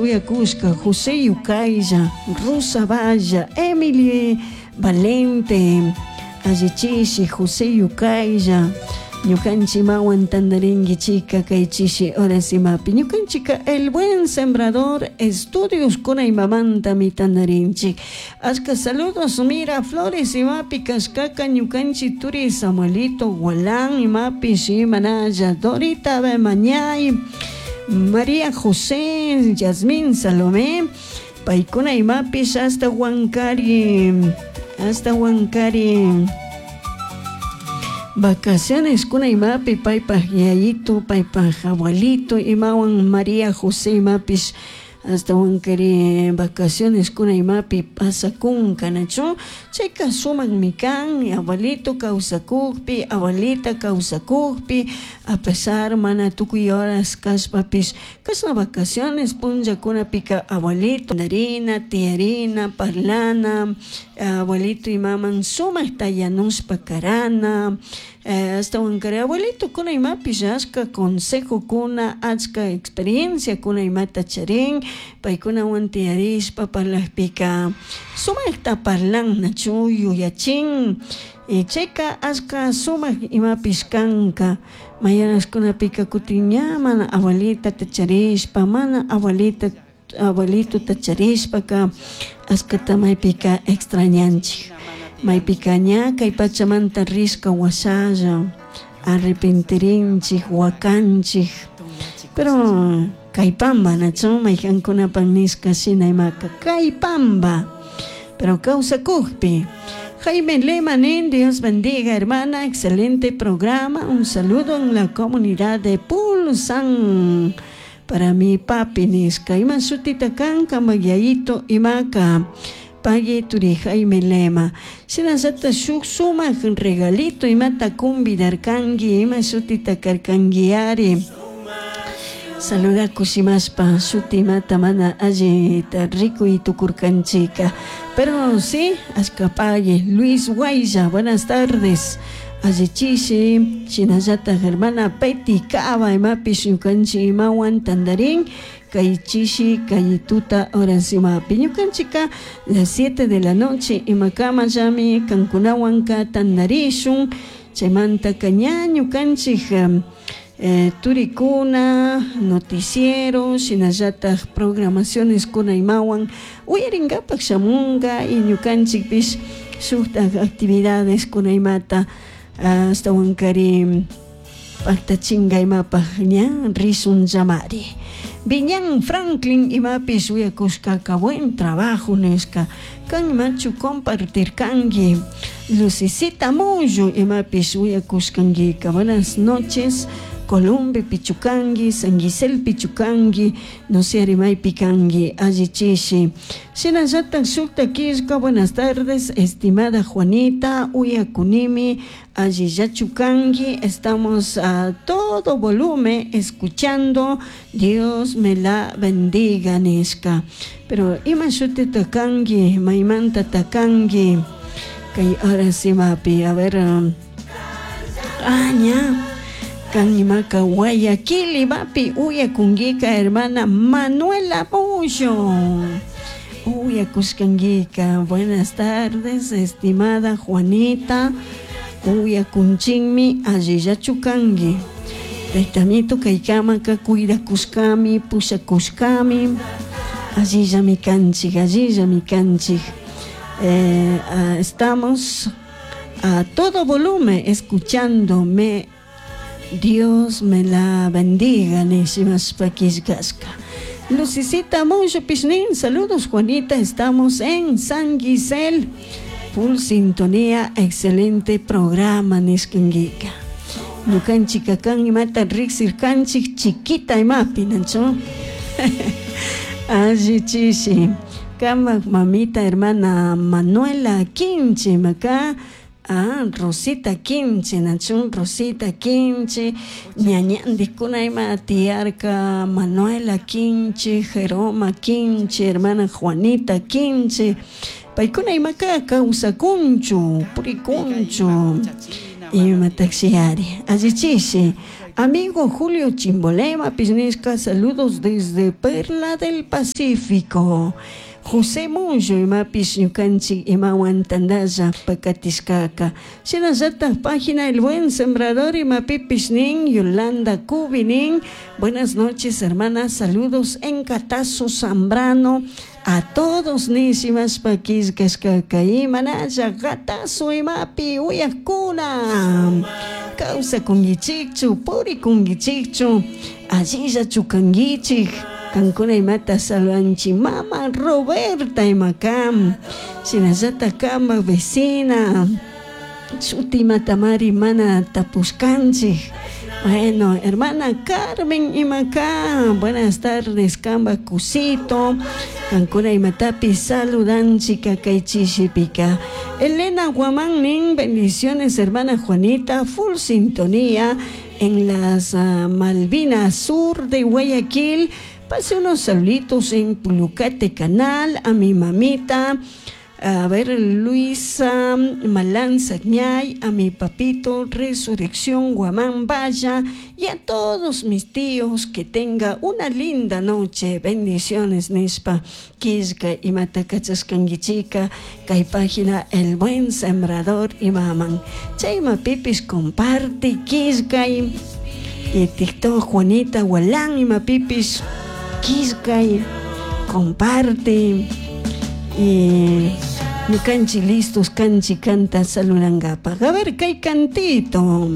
uyakushka José Yucaylla, Rosa Valla, Emily Valente, allichishi José Yucaylla, ñukanchik imawan tantarinkichika kay chishi horas imapi ñukanchika El Buen Sembrador Estudios kuna imamantami tantarinchik. Ashka saludos Mira Flores imapi kashkaka ñukanchik turi Samuelito Gualán imapish imanalla Dorita Bemañay, María José, Yasmín Salomé, paykuna imapish hasta Huancari, hasta Huancari vacaciones kuna imapi paypaj yayito, paypaj abuelito imawan María José imapish hasta Huancari vacaciones kuna imapi pasakunka, nachu? Chayka sumakmi kan abuelito kawsakukpi, abuelita kawsakukpi, a pesar mana tukuy horas kashpapish kashna vacaciones punllakunapika abuelito tandarina, tiyarina, parlana, abuelito imaman sumakta yanushpa karana, ashtawankari abuelito kuna imapish ashka consejokuna, ashka experienciakuna imata charin, paykunawan tiyarishpa parlakpika sumakta parlan, nachu yuyachin, chayka ashka sumak imapish kanka, mayoraskunapika kutin ña mana abuelitata charishpa, mana abuelita abuelitota charishpaka ashkata maypika extrañanchik, maypika ña kay pachamanta rishka washalla arrepentirinchik, wakanchik, pero kay pamba nachu maykankunapak nishka shina imaka kay pamba, pero kawsakukpi. Jaime Lema nin, Dios bendiga hermana, excelente programa, un saludo en la comunidad de Pulsan para mi papi nishka, ima shutita kan kanpak yayito imaka pagui turi Jaime Lema. Shinallata shuk sumak regalito imata convidarkanki, ima shutita karkankiari. Saluda kushimashpa shuti imata mana allita rikuy tukurkanchika. Pero sí, ashka pagui. Luis Guaylla, buenas tardes. Allichishi, shinallata hermana Peti Cava, imapish ñukanchik imawan tandarin, kay chishi, kay tuta horas imapi. Ñukanchika las 7 de la noche imakama llami kankunawanka tandarishun, chaymantaka ña ñukanchik turikuna, noticiero, shinallatak programaciones kuna imawan uyarinkapak shamunka y ñukanchikpish shuktak actividades kuna imata ashtawankari paktachinka imapak ña rishun llamari. Viñan Franklin imapish uyakushkaka buen trabajo nishka, kan imachu compartirkanki. Lucicita Mullo imapish uyakushkankika, buenas noches. Columbe pichukanki, San Gisel pichukanki, no sé maypi kanki, allichishi. Shinallatak shukta killka, buenas tardes, estimada Juanita, uyakunimi, allillachu kanki, estamos a todo volumen escuchando, Dios me la bendiga nishka. Pero ima shutita kanki, maymanta takanki, kay horas imapi, a ver, ña. Kan imaka Guayaquil imapi uyakunkika hermana Manuela Mullo. Uyakushkankika, buenas tardes, estimada Juanita. Uyakunchinmi allillachu kanki. Taytamito kaykamaka cuidakushkami, pushakushkami. Allillami kanchik, allillami kanchik. Estamos a todo volumen escuchándome. Dios me la bendiga, nishimashpa killkashka. Lucicita Mullo Pishnin, saludos Juanita, estamos en San Gisel. Full sintonía, excelente programa, nishkankika. Ñukanchika kan imata riksirkanchik chiquita imapi, nachu? Alli chishi. Kamak mamita hermana Manuela Quinche, maka. Ah, Rosita Quinche, nachun Rosita Quinche, ñañandikuna ima tiyarka Manuela Quinche, Jeroma Quinche, hermana Juanita Quinche, paykuna imaka kawsakunchu, purikunchu, ima taxiari, allichishi. Amigo Julio Chimbolema nishka, saludos desde Perla del Pacífico. José Mullo imapish ñukanchik imawan tantalla pakatishkaka. Shinallatak página El Buen Sembrador imapipish nin Yolanda Cubi nin. Buenas noches, hermanas, saludos en Catazo Zambrano a todos nishimashpa killkashkaka. Imanalla Catazo imapi uyakuna kawsakunkichikchu, purikunkichikchu, allillachu kankichik. Kankuna imata saludanchik mama Roberta imakam, shinallatak kama vecina shuti imatamari mana tapushkanchik. Bueno, hermana Carmen imaka, buenas tardes, kamba kusito, kankuna imatapi saludanchik kay chishipika. Elena Guamán nin, bendiciones hermana Juanita, full sintonía en las Malvinas Sur de Guayaquil. Pase unos saluditos en Pulucate Canal a mi mamita, a ver, Luisa Malán Sagñay, a mi papito Resurrección Guamán Valla y a todos mis tíos, que tenga una linda noche. Bendiciones, nishpa killka imata kachashkankichika kay página El Buen Sembrador imaman. Chaymapipish comparte killkay y TikTok Juanita Gualán imapipish killkay comparte y ñukanchik listos kanchik kanta saludankapaj. A ver, kay cantito.